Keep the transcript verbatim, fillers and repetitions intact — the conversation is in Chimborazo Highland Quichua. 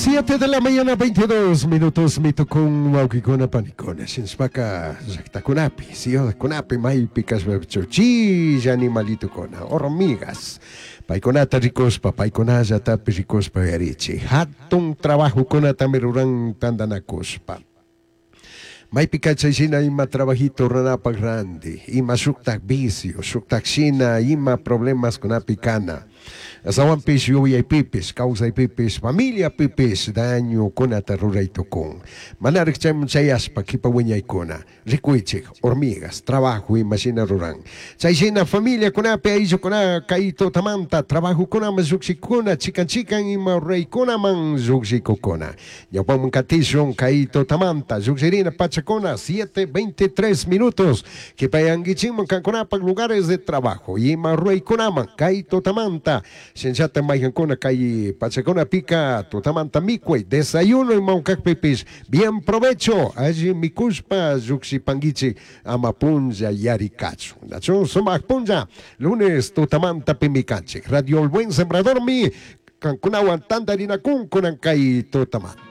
Siete de la mañana, veintidós minutos, mitukun wawkikuna panikuna. Shinashpaka llaktakunapi, ciudadkunapi, maypi kashpapichu chilla animalitukuna, hormigas. Paykunata rikushpa, paykunallatapi rikushpa yarichi. Hatun trabajokunatami ruran tantanakushpa. Maypika chay shina ima trabajito ruranapak randi, ima shuktak vicio, shuktak shina ima problemas kunapi kana. Astawanpish yuyaypipish, kawsaypipish, familiapipish dañokunata ruray tukun. Manarik chayman chayashpa kipa wiñaykuna, rikuychik, hormigas, trabajo ima shina ruran. Chay shina familiakunapi ayllukuna kay tutamanta trabajokunaman llukshikuna, chikan chikan ima ruraykunaman llukshikukuna. Ñawpaman katishun kay tutamanta llukshirina pachakuna, siete veintitrés minutos, kipayankichikman kankunapak lugares de trabajo ima ruraykunaman kay tutamanta. Shinllata maykankuna kay pachakunapika tutamanta mikuy, desayuno ima kakpipish, bien provecho, alli mikushpa llukshipankichik ama punlla yarikachun. Nachu sumak punlla, lunes tutamanta pimikanchik. Radio El Buen Sembrador mi kankunawan tantarinakun kunan kay tutamanta.